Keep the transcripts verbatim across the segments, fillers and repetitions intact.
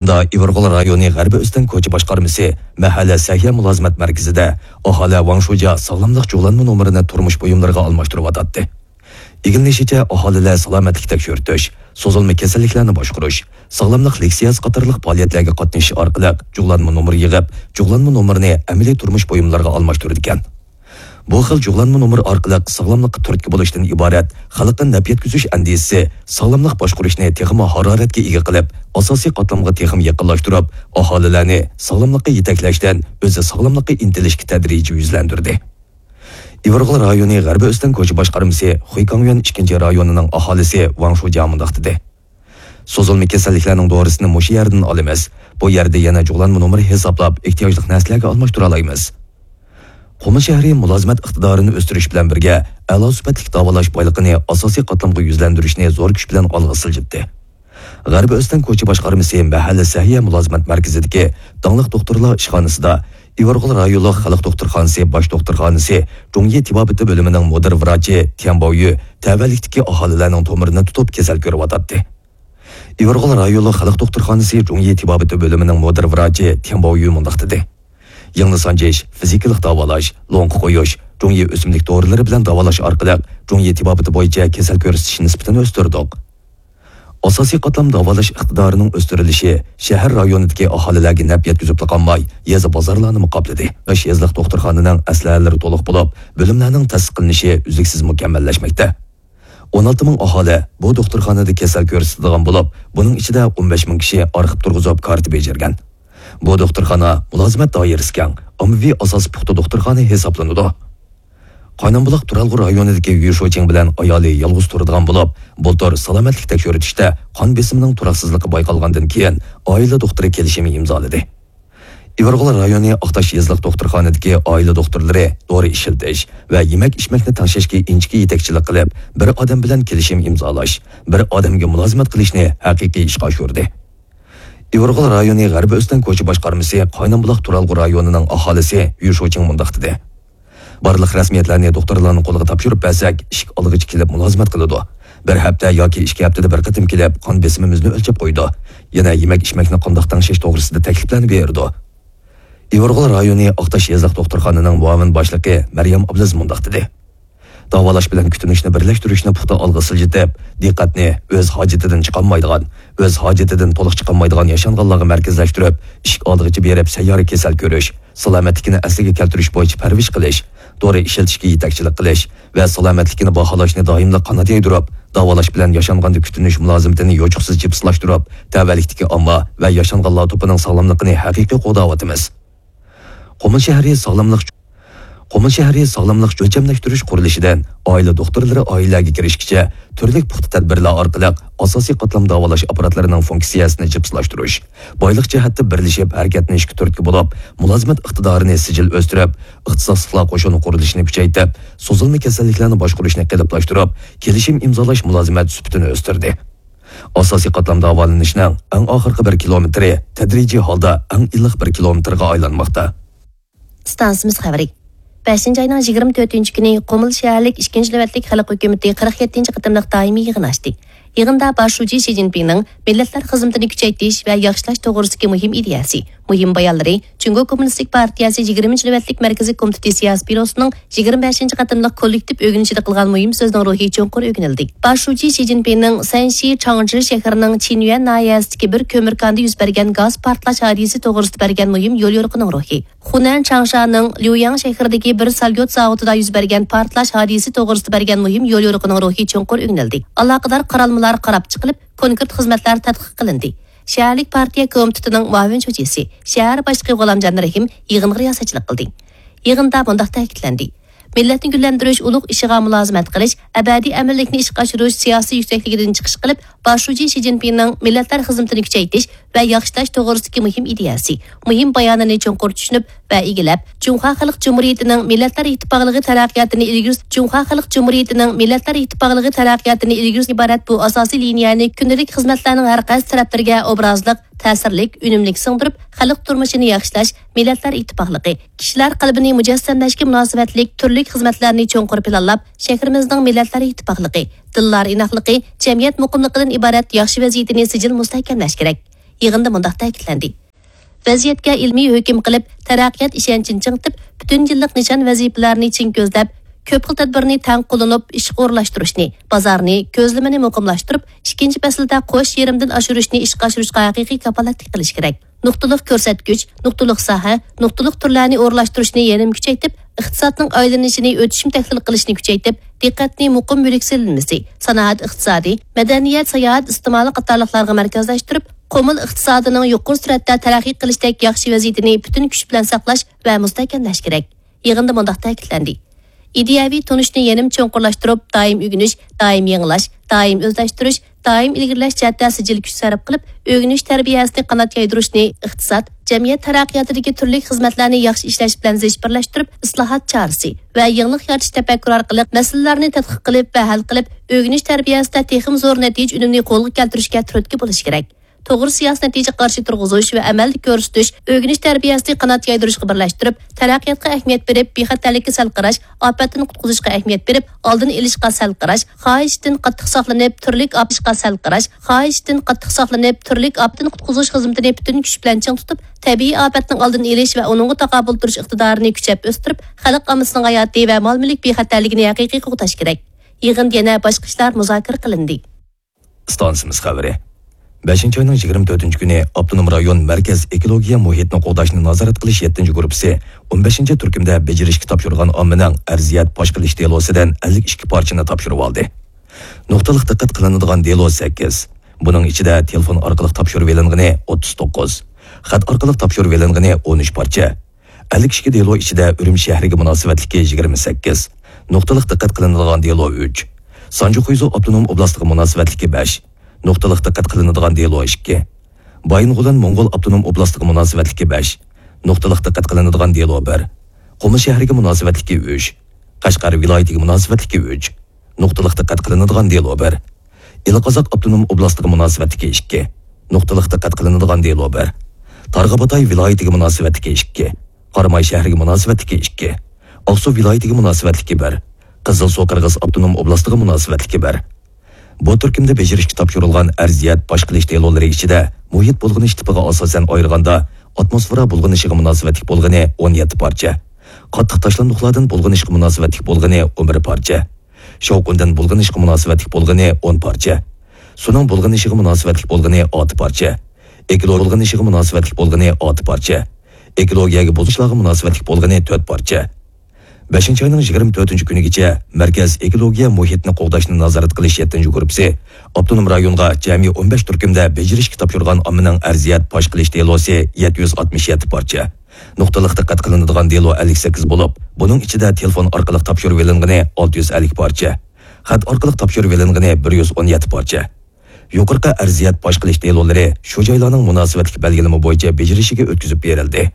ئىۋىرغول رايونى غەربىي ئۆستەڭ كوچا باشقارمىسى مەھەللە سەھىيە مۇلازىمەت مەركىزىدە ئاھالە ۋاڭ شۇجيا ساغلاملىق جۇغلانما نومۇرىنى تۇرمۇش بۇيۇملىرىغا ئالماشتۇرۇۋاتاتتى. ئىگىلىنىشىچە، ئاھالىلەر سالامەتلىك تەكشۈرتۈش، سوزۇلما كېسەللىكلەرنى باشقۇرۇش، ساغلاملىق لېكسىيەسى قاتارلىق پائالىيەتلەرگە قاتنىشىش ئارقىلىق جۇغلانما نومۇر يىغىپ، جۇغلانما نومۇرىنى ئەمەلىي تۇرمۇش بۇيۇملىرىغا ئالماشتۇرىدىكەن. بۇ خىل جۇغلانما نومۇر ئارقىلىق ساغلاملىققا تۈرتكە بولۇشتىن ئىبارەت خەلققە نەپ يەتكۈزۈش ئەندىزىسى ساغلاملىق باشقۇرۇشنى تېخىمۇ ھارارەتكە ئىگە قىلىپ، ئاساسىي قاتلامغا تېخىمۇ يېقىنلاشتۇرۇپ، ئاھالىلەرنى ساغلاملىققا يېتەكلەشتىن ئۆزى ساغلاملىققا ئىنتىلىشكە تەدرىجىي يۈزلەندۈردى. ئىۋىرغول رايونى غەربىي ئۆستەڭ كوچا باشقارمىسى خۇيكاڭيۈەن ئىككىنچى رايونىنىڭ ئاھالىسى ۋاڭ شۇجيا مۇنداق دېدى: سوزۇلما كېسەللىكلەرنىڭ دورىسىنى مۇشۇ يەردىن ئالىمىز. بۇ يەردە يەنە جۇغلانما نومۇر ھېسابلاپ ئېھتىياجلىق نەرسىلەرگە ئالماشتۇرالايمىز. قۇمۇل شەھىرى مۇلازىمەت ئىقتىدارىنى ئۆستۈرۈش بىلەن بىرگە، ئەلا سۈپەتلىك داۋالاش بايلىقىنى ئاساسىي قاتلامغا يۈزلەندۈرۈشنى زور كۈچ بىلەن ئالغا سىلجىتتى. غەربىي ئۆستەڭ كوچا باشقارمىسى مەھەللە سەھىيە مۇلازىمەت مەركىزىدىكى داڭلىق دوختۇرلار ئىشخانىسىدا ئىۋىرغول رايونلۇق خەلق دوختۇرخانىسى باش دوختۇرخانىسى جۇڭيى تېبابىتى بۆلۈمىنىڭ مۇدىر ۋراچى تيەن باۋيۈ تەۋەلىكتىكى ئاھالىلەرنىڭ تومۇرىنى تۇتۇپ كېسەل كۆرۈۋاتاتتى. ئىۋىرغول رايونلۇق خەلق دوختۇرخانىسى جۇڭيى تېبابىتى بۆلۈمىنىڭ مۇدىر ۋراچى تيەن باۋيۈ مۇنداق دېدى: يىڭنە سانجىش، فىزىكىلىق داۋالاش، لوڭقا قويۇش، جۇڭيى ئۆسۈملۈك دورىلىرى بىلەن داۋالاش ئارقىلىق جۇڭيى تېبابىتى بويىچە كېسەل كۆرسىتىش نىسبىتىنى ئۆستۈردۇق. ئاساسىي قاتلام داۋالاش ئىقتىدارىنىڭ ئۆستۈرۈلۈشى شەھەر رايونىدىكى ئاھالىلەرگە نەپ يەتكۈزۈپلا قالماي، يېزا بازارلارنىمۇ قاپلىدى. يېزىلىق دوختۇرخانىنىڭ ئەسلىھەلىرى تولۇق بولۇپ، بۆلۈملەرنىڭ تەسىس قىلىنىشى ئۈزلۈكسىز مۇكەممەللەشمەكتە. ئون ئالتە مىڭ ئاھالى بۇ دوختۇرخانىدا كېسەل كۆرسىتىدىغان بولۇپ، بۇنىڭ ئىچىدە ئون بەش مىڭ كىشى ئارخىپ تۇرغۇزۇپ كارتا بېجىرگەن. بۇ دوختۇرخانا مۇلازىمەت دائىرىسى كەڭ، ئاممىۋى ئاساسى پۇختا دوختۇرخانا ھېسابلىنىدۇ. قاينامبۇلاق تۇرالغۇ رايونىدىكى يۈ شۇچىڭ بىلەن ئايالى يالغۇز تۇرىدىغان بولۇپ، بۇلتۇر سالامەتلىك تەكشۈرتۈشتە قان بېسىمىنىڭ تۇراقسىزلىقى بايقالغاندىن كېيىن، ئائىلە دوختۇرى كېلىشىم ئىمزالىدى. ئىۋىرغول رايونى ئاقتاش يېزىلىق دوختۇرخانىدىكى ئائىلە دوختۇرلىرى دورا ئىشلىتىش ۋە يېمەك-ئىچمەكنى تەڭشەشكە ئىنچىكە يېتەكچىلىك قىلىپ، بىر ئادەم بىلەن كېلىشىم ئىمزالاش، بىر ئادەمگە مۇلازىمەت قىلىشنى ھەقىقىي ئىشقا ئاشۇردى. ئىۋىرغول رايونى غەربىي ئۆستەڭ كوچا باشقارمىسى قاينامبۇلاق تۇرالغۇ رايونىنىڭ ئاھالىسى يۈ شۇچىڭ مۇنداق دېدى: بارلىق رەسمىيەتلەرنى دوختۇرلارنىڭ قولىغا تاپشۇرۇپ بەرسەك، ئىشىك ئالغۇچى كېلىپ مۇلازىمەت قىلىدۇ. بىر ھەپتە ياكى ئىككى ھەپتىدە بىر قېتىم كېلىپ، قان بېسىمىمىزنى ئۆلچەپ قويىدۇ. يەنە يېمەك-ئىچمەكنى قانداق تەڭشەش توغرىسىدا تەكلىپلەرنى بېرىدۇ. ئىۋىرغول رايونى ئاقتاش يېزىلىق دوختۇرخانىنىڭ مۇئاۋىن باشلىقى مەريەم ئابلىز مۇنداق دېدى: داۋالاش بىلەن كۈتۈنۈشنى بىرلەشتۈرۈشنى پۇختا ئالغا سىلجىتىپ، دىققەتنى ئۆز ھاجىتىدىن چىقالمايدىغان، ئۆز ھاجىتىدىن تولۇق چىقالمايدىغان ياشانغانلارغا مەركەزلەشتۈرۈپ، ئىشىك ئالدىغىچە بېرىپ سەييارە كېسەل كۆرۈش، سالامەتلىكىنى ئەسلىگە كەلتۈرۈش بويىچە پەرۋىش قىلىش، دورا ئىشلىتىشكە يېتەكچىلىك قىلىش ۋە سالامەتلىكىنى باھالاشنى دائىملىق قانات يايدۇرۇپ، داۋالاش بىلەن ياشانغاندا كۈتۈنۈش مۇلازىمىتىنى يوچۇقسىز جىپسىلاشتۇرۇپ، تەۋەلىكتىكى ئامما ۋە ياشانغانلار توپىنىڭ ساغلاملىقىنى ھەقىقىي قوغداۋاتىمىز. قۇمۇل شەھىرى ساغلاملىق قۇمۇل شەھىرى ساغلاملىق ئۆلچەملەشتۈرۈش قۇرۇلۇشىدىن ئائىلە دوختۇرلىرى ئائىلىلەرگە كىرىشكىچە تۈرلۈك پۇختا تەدبىرلەر ئارقىلىق ئاساسىي قاتلام داۋالاش ئاپپاراتلىرىنىڭ فۇنكسىيەسىنى جىپسىلاشتۇرۇش، بايلىق جەھەتتە بىرلىشىپ ھەرىكەتلىنىشكە تۈرتكە بولۇپ، مۇلازىمەت ئىقتىدارىنى سىجىل ئۆستۈرۈپ، ئىختىساسلىقلار قوشۇنى قۇرۇلۇشىنى كۈچەيتىپ، سوزۇلما كېسەللىكلەرنى باشقۇرۇشنى قېلىپلاشتۇرۇپ، كېلىشىم ئىمزالاش مۇلازىمەت سۈپىتىنى ئۆستۈردى. ئاساسىي قاتلام داۋالىنىشنىڭ ئەڭ ئاخىرقى بىر كىلومېتىرى تەدرىجىي ھالدا ئەڭ ئىللىق بىر كىلومېتىرغا ئايلانماقتا. ئىستانسىمىز خەۋىرى. بەشىنچى ئاينىڭ يىگىرمە تۆتىنچى كۈنى قۇمۇل شەھەرلىك ئىككىنچى نۆۋەتلىك خەلق ھۆكۈمىتى قىرىق يەتتىنچى قېتىملىق دائىمىي يىغىن ئاچتى. يىغىندا باش شۇجى شى جىنپىڭنىڭ مىللەتلەر خىزمىتىنى كۈچەيتىش ۋە ياخشىلاش توغرىسىدىكى مۇھىم ئىدىيەسى، مۇھىم بايانلىرى، جۇڭگو كوممۇنىستىك پارتىيەسى يىگىرمىنچى نۆۋەتلىك مەركىزىي كومىتېتى سىياسىي بيۇروسىنىڭ يىگىرمە بەشىنچى قېتىملىق كوللېكتىپ ئۆگىنىشىدە قىلغان مۇھىم سۆزىنىڭ روھى چوڭقۇر ئۆگىنىلدى. باش شۇجى شى جىنپىڭنىڭ سەنشى چاڭجى شەھىرىنىڭ چىنيۈەن ناھىيەسىدىكى بىر كۆمۈر كانىدا يۈز بەرگەن گاز پارتلاش ھادىسىسى توغرىسىدا بەرگەن مۇھىم يوليورۇقىنىڭ روھى، خۇنەن چاڭشانىڭ ليۇياڭ شەھىرىدىكى بىر ساليۇت زاۋۇتىدا يۈز بەرگەن پارتلاش ھادىسىسى توغرىسىدا بەرگەن مۇھىم يوليورۇقىنىڭ روھى چوڭقۇر ئۆگىنىلدى. ئالاقىدار قارالمىلار قاراپ چىقىلىپ، كونكرېت خىزمەتلەر تەتقىق قىلىندى. شەھەرلىك پارتىيە كومىتېتىنىڭ مۇئاۋىن شۇجىسى، شەھەر باشلىقى غۇلامجان رەھىم يىغىنغا رىياسەتچىلىك قىلدى. يىغىندا مۇنداق تەكىتلەندى: مىللەتنى گۈللەندۈرۈش ئۇلۇغ ئىشىغا مۇلازىمەت قىلىش، ئەبەدىي ئەمىنلىكنى ئىشقا ئاشۇرۇش سىياسىي يۈكسەكلىكىدىن چىقىش قىلىپ، باش شۇجى شى جىنپىڭنىڭ مىللەتلەر خىزمىتىنى كۈچەيتىش ۋە ياخشىلاش توغرىسىدىكى مۇھىم ئىدىيەسى، مۇھىم بايانىنى چوڭقۇر چۈشىنىپ ۋە ئىگىلەپ، جۇڭخۇا خەلق جۇمھۇرىيىتىنىڭ مىللەتلەر ئىتتىپاقلىقى تەرەققىياتىنى ئىلگىرى، جۇڭخۇا خەلق جۇمھۇرىيىتىنىڭ مىللەتلەر ئىتتىپاقلىقى تەرەققىياتىنى ئىلگىرى سۈرۈش ئىبارەت بۇ ئاساسىي لىنىيەنى كۈندىلىك خىزمەتلەرنىڭ ھەر قايسى تەرەپلىرىگە ئوبرازلىق، تەسىرلىك، ئۈنۈملۈك سىڭدۈرۈپ، خەلق تۇرمۇشىنى ياخشىلاش، مىللەتلەر ئىتتىپاقلىقى، كىشىلەر قەلبىنى مۇجەسسەملەشكە مۇناسىۋەتلىك تۈرلۈك خىزمەتلەرنى چوڭقۇر پىلانلاپ، شەھىرىمىزنىڭ مىللەتلەر ئىتتىپاقلىقى، دىللار ئىناقلىقى، جەمئىيەت مۇقىملىقىدىن ئىبارەت ياخشى ۋەزىيىتىنى سىجىل مۇستەھكەملەش كېرەك. يىغىندا مۇنداق تەكىتلەندى: ۋەزىيەتكە ئىلمىي ھۆكۈم قىلىپ، تەرەققىيات ئىشەنچىنى چىڭىتىپ، پۈتۈن يىللىق نىشان ۋەزىپىلەرنى چىڭ كۆزلەپ، كۆپ خىل تەدبىرنى تەڭ قوللىنىپ ئىشقا ئورۇنلاشتۇرۇشنى، بازارنى، كۆزلىمىنى مۇقىملاشتۇرۇپ، ئىككىنچى پەسىلدە قوش يېرىمدىن ئاشۇرۇشنى ئىشقا ئاشۇرۇشقا ھەقىقىي كاپالەتلىك قىلىش كېرەك. نۇقتىلىق كۆرسەتكۈچ، نۇقتىلىق ساھە، نۇقتىلىق تۈرلەرنى ئورۇنلاشتۇرۇشنى يەنىمۇ كۈچەيتىپ، ئىقتىسادنىڭ ئايلىنىشىنى ئۆتۈشۈم تەھلىل قىلىشنى كۈچەيتىپ، دىققەتنى مۇقىم مۈلۈك سېلىنمىسى، سانائەت ئىقتىسادى، مەدەنىيەت، ساياھەت ئىستېمالى قاتارلىقلارغا مەركەزلەشتۈرۈپ، قۇمۇل ئىقتىسادىنىڭ يۇقىرى سۈرئەتتە تەرەققىي قىلىشتەك ياخشى ۋەزىيىتىنى پۈتۈن كۈچ بىلەن ساقلاش ۋە مۇستەھكەملەش كېرەك. يىغىندا مۇنداق تەكىتلەندى: ئىدىيەۋى تونۇشنى يەنىمۇ چوڭقۇرلاشتۇرۇپ، دائىم ئۆگىنىش، دائىم يېڭىلاش، دائىم ئۆزلەشتۈرۈش، دائىم ئىلگىرىلەش جەھەتتە سىجىل كۈچ سەرپ قىلىپ، ئۆگىنىش تەربىيەسىنى قانات يايدۇرۇشنى ئىقتىساد، جەمئىيەت تەرەققىياتىدىكى تۈرلۈك خىزمەتلەرنى ياخشى ئىشلەش بىلەن زىچ بىرلەشتۈرۈپ، ئىسلاھات چارىسى ۋە يېڭىلىق يارىتىش تەپەككۇرى ئارقىلىق مەسىلىلەرنى تەتقىق قىلىپ ۋە ھەل قىلىپ، ئۆگىنىش تەربىيەسىدە تېخىمۇ زور نەتىجە ئۈنۈمىنى قولغا كەلتۈرۈشكە تۈرتكە بولۇش كېرەك. توغرا سىياسىي نەتىجە قارىشى تۇرغۇزۇش ۋە ئەمەلدە كۆرسىتىش، ئۆگىنىش تەربىيەسىنى قانات يايدۇرۇشقا بىرلەشتۈرۈپ، تەرەققىياتقا ئەھمىيەت بېرىپ، بىخەتەرلىككە سەل قاراش، ئاپەتتىن قۇتقۇزۇشقا ئەھمىيەت بېرىپ، ئالدىنى ئېلىشقا سەل قاراش، خاھىشتىن قاتتىق ساقلىنىپ، تۈرلۈك ئاپەتقا سەل قاراش، خاھىشتىن قاتتىق ساقلىنىپ، تۈرلۈك ئاپەتتىن قۇتقۇزۇش خىزمىتىنى پۈتۈن كۈچ بىلەن چىڭ تۇتۇپ، تەبىئىي ئاپەتنىڭ ئالدىنى ئېلىش ۋە ئۇنىڭغا تاقابىل تۇرۇش ئىقتىدارىنى كۈچەپ ئۆستۈرۈپ، خەلق ئاممىسىنىڭ ھاياتى ۋە مال-مۈلۈك بىخەتەرلىكىنى ھەقىقىي قوغداش كېرەك. يىغىندا يەنە باشقا ئىشلار مۇزاكىرە قىلىندى. ئىستانسىمىز خەۋىرى. بەشىنچى ئاينىڭ يىگىرمە تۆتىنچى كۈنى ئاپتونوم رايون مەركەز ئېكولوگىيە مۇھىتنى قوغداشنى نازارەت قىلىش يەتتىنچى گۇرۇپپىسى ئون بەشىنچى تۈركۈمدە بېجىرىشكە تاپشۇرغان ئاممىنىڭ ئەرزىيەت پاش قىلىش دېلوسىدىن ئەللىك ئىككى پارچىنى تاپشۇرۇۋالدى. نۇقتىلىق دىققەت قىلىنىدىغان دېلو سەككىز. بۇنىڭ ئىچىدە تېلېفون ئارقىلىق تاپشۇرۇۋېلىنغىنى ئوتتۇز توققۇز، خەت ئارقىلىق تاپشۇرۇۋېلىنغىنى ئون ئۈچ پارچە، ئەللىك ئىككى دېلو ئىچىدە ئۈرۈمچى شەھىرىگە مۇناسىۋەتلىكى يىگىرمە سەككىز، نۇقتىلىق دىققەت قىلىنىدىغان دېلو ئۈچ، سانجى خۇيزۇ ئاپتونوم ئوبلاستىغا مۇناسىۋەتلىكى بەش، نۇقتىلىق دىققەت قىلىنىدىغان دېلو ئىككى، بايىنغولىن موڭغۇل ئاپتونوم ئوبلاستىغا مۇناسىۋەتلىكى بەش، نۇقتىلىق دىققەت قىلىنىدىغان دېلو بىر، قۇمۇل شەھىرىگە مۇناسىۋەتلىكى ئۈچ، قەشقەر ۋىلايىتىگە مۇناسىۋەتلىكى ئۈچ، نۇقتىلىق دىققەت قىلىنىدىغان دېلو بىر، ئىلى قازاق ئاپتونوم ئوبلاستىغا مۇناسىۋەتلىكى ئىككى، نۇقتىلىق دىققەت قىلىنىدىغان دېلو بىر، تارباغاتاي ۋىلايىتىگە مۇناسىۋەتلىكى ئىككى، قاراماي شەھىرىگە مۇناسىۋەتلىكى ئىككى، ئاقسۇ ۋىلايىتىگە مۇناسىۋەتلىكى بىر، قىزىلسۇ قىرغىز ئاپتونوم ئوبلاستىغا مۇناسىۋەتلىكى بىر. بۇ تۈركۈمدە بېجىرىشكە تاپشۇرۇلغان ئەرزىيەت پاش قىلىش دېلولىرى ئىچىدە مۇھىت بۇلغىنىش تىپىغا ئاساسەن ئايرىغاندا، ئاتموسفېرا بۇلغىنىشىغا مۇناسىۋەتلىك بولغىنى ئون يەتتە پارچە، قاتتىق تاشلاندۇقلاردىن بۇلغىنىشقا مۇناسىۋەتلىك بولغىنى ئون بىر پارچە، شاۋقۇندىن بۇلغىنىشقا مۇناسىۋەتلىك بولغىنى ئون پارچە، سۇنىڭ بۇلغىنىشىغا مۇناسىۋەتلىك بولغىنى ئالتە پارچە، ئېكولوگىيە بۇلغىنىشىغا مۇناسىۋەتلىك بولغىنى ئالتە پارچە، ئېكولوگىيەگە بۇزۇلۇشلارغا مۇناسىۋەتلىك بولغىنى تۆت پارچە. بەشىنچى ئاينىڭ يىگىرمە تۆتىنچى كۈنىگىچە مەركەز ئېكولوگىيە مۇھىتنى قوغداشنى نازارەت قىلىش يەتتىنچى گۇرۇپپىسى ئاپتونوم رايونغا جەمئىي ئون بەش تۈركۈمدە بېجىرىشكە تاپشۇرغان ئاممىنىڭ ئەرزىيەت پاش قىلىش دېلوسى يەتتە يۈز ئاتمىش يەتتە پارچە، نۇقتىلىق دىققەت قىلىنىدىغان دېلو ئەللىك سەككىز بولۇپ، بۇنىڭ ئىچىدە تېلېفون ئارقىلىق تاپشۇرۇۋېلىنغىنى ئالتە يۈز ئەللىك پارچە، خەت ئارقىلىق تاپشۇرۇۋېلىنغىنى بىر يۈز ئون يەتتە پارچە. يۇقىرىقى ئەرزىيەت پاش قىلىش دېلولىرى شۇ جايلارنىڭ مۇناسىۋەتلىك بەلگىلىمە بويىچە بېجىرىشىگە ئۆتكۈزۈپ بېرىلدى.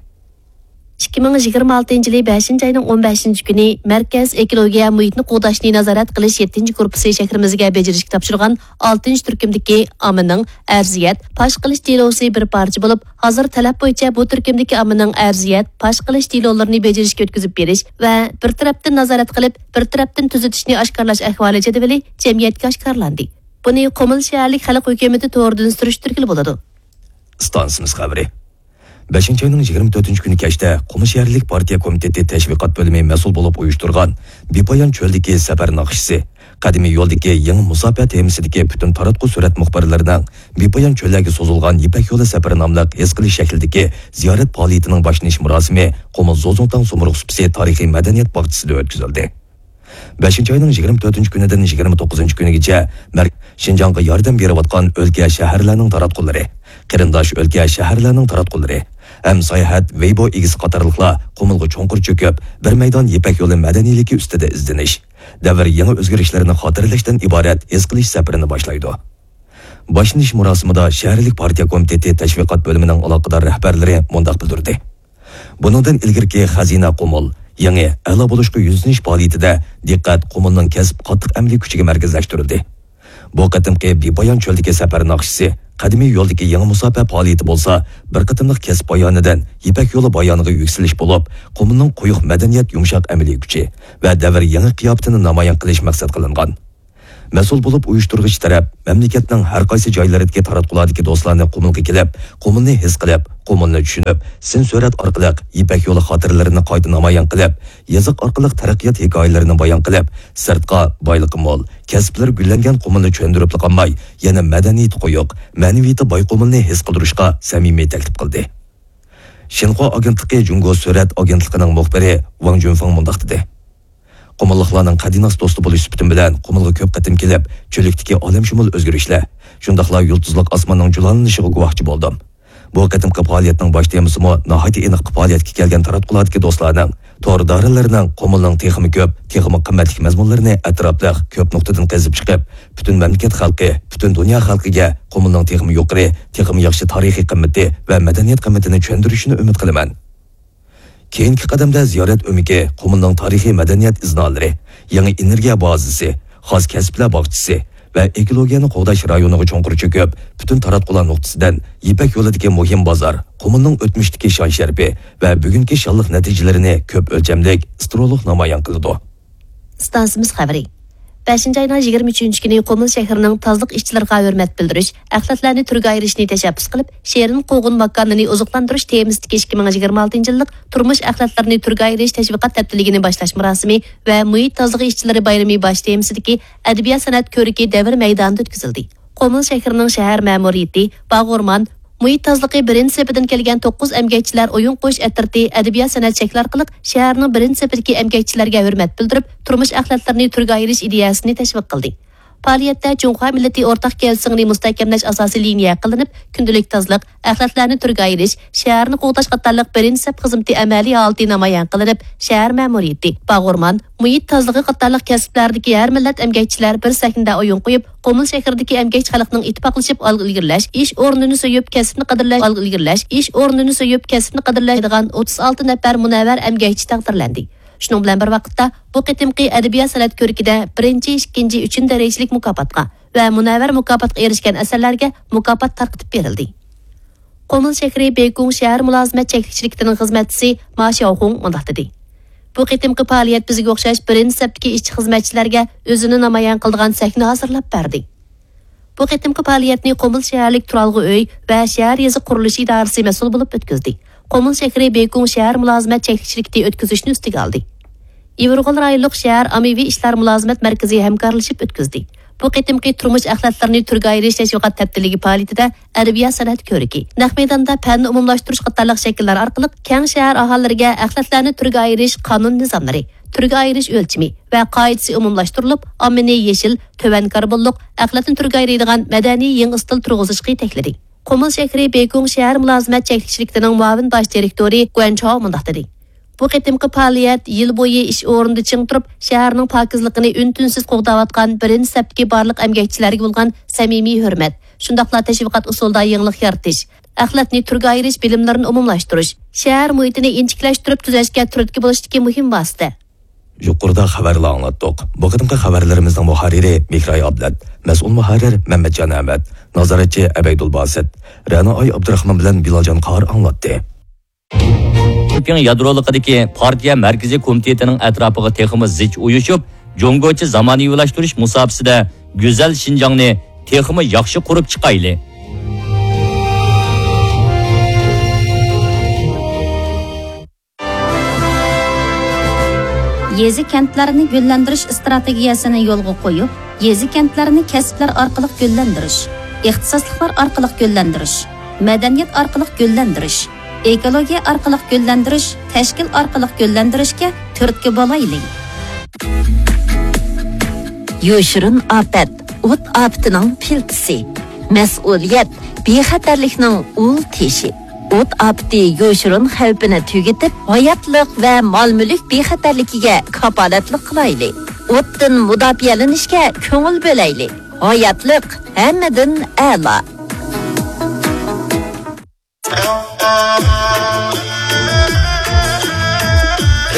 ئىككى مىڭ يىگىرمە ئالتىنچى يىلى بەشىنچى ئاينىڭ ئون بەشىنچى كۈنى مەركەز ئېكولوگىيە مۇھىتنى قوغداشنى نازارەت قىلىش يەتتىنچى گۇرۇپپىسى شەھىرىمىزگە بېجىرىشكە تاپشۇرغان ئالتىنچى تۈركۈمدىكى ئاممىنىڭ ئەرزىيەت پاش قىلىش دېلوسى بىر پارچە بولۇپ، ھازىر تەلەپ بويىچە بۇ تۈركۈمدىكى ئاممىنىڭ ئەرزىيەت پاش قىلىش دېلولىرىنى بېجىرىشكە ئۆتكۈزۈپ بېرىش ۋە بىر تەرەپتىن نازارەت قىلىپ، بىر تەرەپتىن تۈزىتىشنى ئاشكارىلاش ئەھۋالى جەدۋىلى جەمئىيەتكە ئاشكارىلاندى. بۇنى قۇمۇل شەھەرلىك خەلق ھۆكۈمىتى تورىدىن سۈرۈشتۈرگىلى بولىدۇ. ئىستانسىمىز خەۋىرى. بەشىنچى ئاينىڭ يىگىرمە تۆتىنچى كۈنى كەچتە قۇمۇل شەھەرلىك پارتىيە كومىتېتى تەشۋىقات بۆلۈمى مەسئۇل بولۇپ ئۇيۇشتۇرغان بىپايان چۆلدىكى سەپەر ناخشىسى، قەدىمىي يولدىكى يېڭى مۇساپە تېمىسىدىكى پۈتۈن تاراتقۇ سۈرەت مۇخبىرلىرىنىڭ بىپايان چۆللەرگە سوزۇلغان يىپەك يولى سەپىرى ناملىق ھېس قىلىش شەكلىدىكى زىيارەت پائالىيىتىنىڭ باشلىنىش مۇراسىمى قۇمۇل زوزۇڭتاڭ سۇمرۇغ سۇپىسى تارىخىي مەدەنىيەت باغچىسىدا ئۆتكۈزۈلدى. بەشىنچى ئاينىڭ يىگىرمە تۆتىنچى كۈنىدىن يىگىرمە توققۇزىنچى كۈنىگىچە مەر-، شىنجاڭغا ياردەم بېرىۋاتقان ئۆلكە، شەھەرلەرنىڭ تاراتقۇلىرى، قېرىنداش ئۆلكە، شەھەرلەرنىڭ تاراتقۇلىرى ھەم ساياھەت ۋېيبو ئىگىسى قاتارلىقلار قۇمۇلغا چوڭقۇر چۆكۈپ، بىر مەيدان يىپەك يولى مەدەنىيلىكى ئۈستىدە ئىزدىنىش، دەۋر يېڭى ئۆزگىرىشلىرىنى خاتىرىلەشتىن ئىبارەت ھېس قىلىش سەپىرىنى باشلايدۇ. باشلىنىش مۇراسىمىدا شەھەرلىك پارتىيە كومىتېتى تەشۋىقات بۆلۈمىنىڭ ئالاقىدار رەھبەرلىرى مۇنداق بىلدۈردى. بۇنىڭدىن ئىلگىرىكى خەزىنە قۇمۇل، يېڭى، ئەلا بولۇشقا يۈزلىنىش پائالىيىتىدە دىققەت قۇمۇلنىڭ كەسىپ قاتتىق ئەمەلىي كۈچىگە مەركەزلەشتۈرۈلدى. بۇ قېتىمقى بىپايان چۆلدىكى سەپەر ناخشىسى، قەدىمىي يولدىكى يېڭى مۇساپە پائالىيىتى بولسا، بىر قېتىملىق كەسىپ بايانىدىن يىپەك يولى بايانىغا يۈكسىلىش بولۇپ، قۇمۇلنىڭ قويۇق مەدەنىيەت يۇمشاق ئەمەلىي كۈچى ۋە دەۋر يېڭى قىياپىتىنى نامايان قىلىش مەقسەت قىلىنغان. مەسئۇل بولۇپ ئۇيۇشتۇرغۇچى تەرەپ مەملىكەتنىڭ ھەر قايسى جايلىرىدىكى تاراتقۇلاردىكى دوستلارنى قۇمۇلغا كېلىپ، قۇمۇلنى ھېس قىلىپ، قۇمۇلنى چۈشىنىپ، سىن سۈرەت ئارقىلىق يىپەك يولى خاتىرىلىرىنى قايتا نامايان قىلىپ، يېزىق ئارقىلىق تەرەققىيات ھېكايىلىرىنى بايان قىلىپ، سىرتقا بايلىقى مول، كەسىپلىرى گۈللەنگەن قۇمۇلنى چۆندۈرۈپلا قالماي، يەنە مەدەنىيىتى قويۇق، مەنىۋىيىتى باي قۇمۇلنى ھېس قىلدۇرۇشقا سەمىمىي تەكلىپ قىلدى. شىنخۇا ئاگېنتلىقى جۇڭگو سۈرەت ئاگېنتلىقىنىڭ مۇخبىرى ۋاڭ جۈنفېڭ مۇنداق دېدى. قۇمۇللۇقلارنىڭ قەدىناس دوستى بولۇش سۈپىتىم بىلەن قۇمۇلغا كۆپ قېتىم كېلىپ، چۆللۈكتىكى ئالەمشۇمۇل ئۆزگىرىشلەر، شۇنداقلا يۇلتۇزلۇق ئاسماننىڭ جۇلالىنىشىغا گۇۋاھچى بولدۇم. بۇ قېتىمقى پائالىيەتنىڭ باش تېمىسىمۇ ناھايىتى ئېنىق، پائالىيەتكە كەلگەن تاراتقۇلاردىكى دوستلارنىڭ، تور دائىرىلىرىنىڭ قۇمۇلنىڭ تېخىمۇ كۆپ، تېخىمۇ قىممەتلىك مەزمۇنلىرىنى ئەتراپلىق، كۆپ نۇقتىدىن قېزىپ چىقىپ، پۈتۈن مەملىكەت خەلقى، پۈتۈن دۇنيا خەلقىگە قۇمۇلنىڭ تېخىمۇ يۇقىرى، تېخىمۇ ياخشى تارىخىي قىممىتى ۋە مەدەنىيەت قىممىتىنى چۈشەندۈرۈشىنى ئۈمىد قىلىمەن. كېيىنكى قەدەمدە زىيارەت ئۆمىكى قۇمۇلنىڭ تارىخىي مەدەنىيەت ئىزنالىرى، يېڭى ئېنېرگىيە بازىسى، خاس كەسىپلەر باغچىسى ۋە ئېكولوگىيەنى قوغداش رايونىغا چوڭقۇر چۆكۈپ، پۈتۈن تاراتقۇلار نۇقتىسىدىن يىپەك يولىدىكى مۇھىم بازار، قۇمۇلنىڭ ئۆتمۈشتىكى شان-شەرىپى ۋە بۈگۈنكى شانلىق نەتىجىلىرىنى كۆپ ئۆلچەملىك، سترولۇق نامايان قىلىدۇ. ئىستانسىمىز خەۋىرى. بەشىنچى ئاينىڭ يىگىرمە ئۈچىنچى كۈنى قۇمۇل شەھىرىنىڭ تازىلىق ئىشچىلىرىغا ھۆرمەت بىلدۈرۈش، ئەخلەتلەرنى تۈرگە ئايرىشنى تەشەببۇس قىلىپ، شېرىن قوغۇن ماكانىنى ئوزۇقلاندۇرۇش تېمىسىدىكى ئىككى مىڭ يىگىرمە ئالتىنچى يىللىق تۇرمۇش ئەخلەتلىرىنى تۈرگە ئايرىش تەشۋىقات ھەپتىلىكىنى باشلاش مۇراسىمى ۋە مۇھىت تازىلىقى ئىشچىلىرى بايرىمى باش تېمىسىدىكى ئەدەبىيات سەنئەت كۆرىكى دەۋر مەيدانىدا ئۆتكۈزۈلدى. قۇمۇل شەھىرىنىڭ شەھەر مەمۇرىيىتى، باغ ئورمان، مۇھىت تازىلىقى بىرىنچى سېپىدىن كەلگەن توققۇز ئەمگەكچىلەر ئويۇن قويۇش ئەترىتى ئەدەبىيات سەنئەت شەكلى ئارقىلىق شەھەرنىڭ بىرىنچى سېپىدىكى ئەمگەكچىلەرگە ھۆرمەت بىلدۈرۈپ، تۇرمۇش ئەخلەتلىرىنى تۈرگە ئايرىش ئىدىيەسىنى تەشۋىق قىلدى. پائالىيەتتە جۇڭخۇا مىللىتى ئورتاق كېلىشىڭىنى مۇستەھكەملەش ئاساسىي لىنىيە قىلىنىپ، كۈندىلىك تازىلىق، ئەخلەتلەرنى تۈرگە ئايرىش، شەھەرنى قوغداش قاتارلىق بىرىنچى سەپ خىزمىتى ئەمەلىي ھالىتى نامايان قىلىنىپ، شەھەر مەمۇرىيىتى، باغ ئورمان، مۇھىت تازىلىقى قاتارلىق كەسىپلەردىكى ھەر مىللەت ئەمگەكچىلەر بىر سەھنىدە ئويۇن قويۇپ، قۇمۇل شەھىرىدىكى ئەمگەكچى خەلقنىڭ ئىتتىپاقلىشىپ ئالغا ئىلگىرىلەش، ئىش ئورنىنى سۆيۈپ كەسىپنى قەدىرلەش، ئالغا ئىلگىرىلەش، ئىش ئورنىنى سۆيۈپ كەسىپنى قەدىرلەيدىغان ئوتتۇز ئالتە نەپەر مۇنەۋۋەر ئەمگەكچى تەقدىرلەندى. شۇنىڭ بىلەن بىر ۋاقىتتا، بۇ قېتىمقى ئەدەبىيات سەنئەت كۆرىكىدە بىرىنچى، ئىككىنچى، ئۈچىنچى دەرىجىلىك مۇكاپاتقا ۋە مۇنەۋۋەر مۇكاپاتقا ئېرىشكەن ئەسەرلەرگە مۇكاپات تارقىتىپ بېرىلدى. قۇمۇل شەھىرى بېيكۇڭ شەھەر مۇلازىمەت چەكلىك شىركىتىنىڭ خىزمەتچىسى ما شياۋخۇڭ مۇنداق دېدى: بۇ قېتىمقى پائالىيەت بىزگە ئوخشاش بىرىنچى سەپتىكى ئىشچى خىزمەتچىلەرگە ئۆزىنى نامايان قىلىدىغان سەھنە ھازىرلاپ بەردى. بۇ قېتىمقى پائالىيەتنى قۇمۇل شەھەرلىك تۇرالغۇ ئۆي ۋە شەھەر يېزا قۇرۇلۇشى ئىدارىسى مەسئۇل بولۇپ ئۆتكۈزدى. قۇمۇل شەھىرى بېيكۇڭ شەھەر مۇلازىمەت چەكلىك شىركىتى ئۆتكۈزۈشنى ئۈستىگە ئالدى. يىۋىرغول رايونلۇق شەھەر ئاممىۋى ئىشلار مۇلازىمەت مەركىزى ھەمكارلىشىپ ئۆتكۈزدى. بۇ قېتىمقى تۇرمۇش ئەخلەتلىرىنى تۈرگە ئايرىش تەشۋىقات ھەپتىلىكى پائالىيىتىدە ئەدەبىيات سەنئەت كۆرىكى، نەق مەيداندا پەننى ئومۇملاشتۇرۇش قاتارلىق شەكىللەر ئارقىلىق كەڭ شەھەر ئاھالىلىرىگە ئەخلەتلەرنى تۈرگە ئايرىش قانۇن نىزاملىرى، تۈرگە ئايرىش ئۆلچىمى ۋە قائىدىسى ئومۇملاشتۇرۇلۇپ، ئاممىنى يېشىل، تۆۋەن كاربونلۇق، ئەخلەتنى تۈرگە ئايرىيدىغان مەدەنىي يېڭى ئىستىل تۇرغۇزۇشقا يېتەكلىدى. قۇمۇل شەھىرى بېيكۇڭ شەھەر مۇلازىمەت چەكلىك شىركىتىنىڭ مۇئاۋىن باش دىرېكتورى گۇەن چاۋ مۇنداق دېدى: بۇ قېتىمقى پائالىيەت يىل بويى ئىش ئورنىدا چىڭ تۇرۇپ، شەھەرنىڭ پاكىزلىقىنى ئۈن-تىنسىز قوغداۋاتقان بىرىنچى سەپتىكى بارلىق ئەمگەكچىلەرگە بولغان سەمىمىي ھۆرمەت، شۇنداقلا تەشۋىقات ئۇسۇلىدا يېڭىلىق يارىتىش، ئەخلەتنى تۈرگە ئايرىش بىلىملىرىنى ئومۇملاشتۇرۇش، شەھەر مۇھىتىنى ئىنچىكىلەشتۈرۈپ تۈزەشكە تۈرتكە بولۇشتىكى مۇھىم ۋاسىتە. يۇقىرىدا خەۋەرلەر ئاڭلاتتۇق. بۇ قېتىمقى خەۋەرلىرىمىزنىڭ مۇھەررىرى مېھراي ئابلەت، مەسئۇل مۇھەررىر مەمەتجان ئەمەت، نازارەتچى ئەبەيدۇل باسىت، رەنا ئاي ئابدۇراخمان بىلەن بىلالجان قاھار ئاڭلاتتى. شىنپىڭ يادرولۇقىدىكى پارتىيە مەركىزىي كومىتېتىنىڭ ئەتراپىغا تېخىمۇ زىچ ئۇيۇشۇپ، جۇڭگوچە زامانىۋىلاشتۇرۇش مۇساپىسىدە گۈزەل شىنجاڭنى تېخىمۇ ياخشى قۇرۇپ چىقايلى. يېزا-كەنتلەرنى گۈللەندۈرۈش ئىستراتېگىيەسىنى يولغا قويۇپ، يېزا-كەنتلەرنى كەسىپلەر ئارقىلىق گۈللەندۈرۈش، ئىختىساسلىقلار ئارقىلىق گۈللەندۈرۈش، مەدەنىيەت ئارقىلىق گۈللەندۈرۈش، ئېكولوگىيە ئارقىلىق گۈللەندۈرۈش، تەشكىل ئارقىلىق گۈللەندۈرۈشكە تۈرتكە بولايلى. يوشۇرۇن ئاپەت، ئوت ئاپىتىنىڭ پىلتىسى. مەسئۇلىيەت، بىخەتەرلىكنىڭ ئۇل تېشى. ئوت ئاپىتى يوشۇرۇن خەۋپىنى تۈگىتىپ، ھاياتلىق ۋە مال-مۈلۈك بىخەتەرلىكىگە كاپالەتلىك قىلايلى. ئوتتىن مۇداپىئەلىنىشكە كۆڭۈل بۆلەيلى. ھاياتلىق ھەممىدىن ئەلا.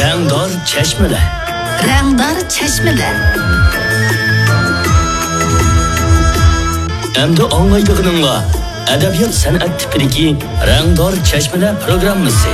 رەڭدار چەشمىلەر. رەڭدار چەشمىلەر. ئەمدى ئاڭلايدىغىنىڭلار ئەدەبىيات سەنئەت تىپىدىكى رەڭدار چەشمىلەر پروگراممىسى.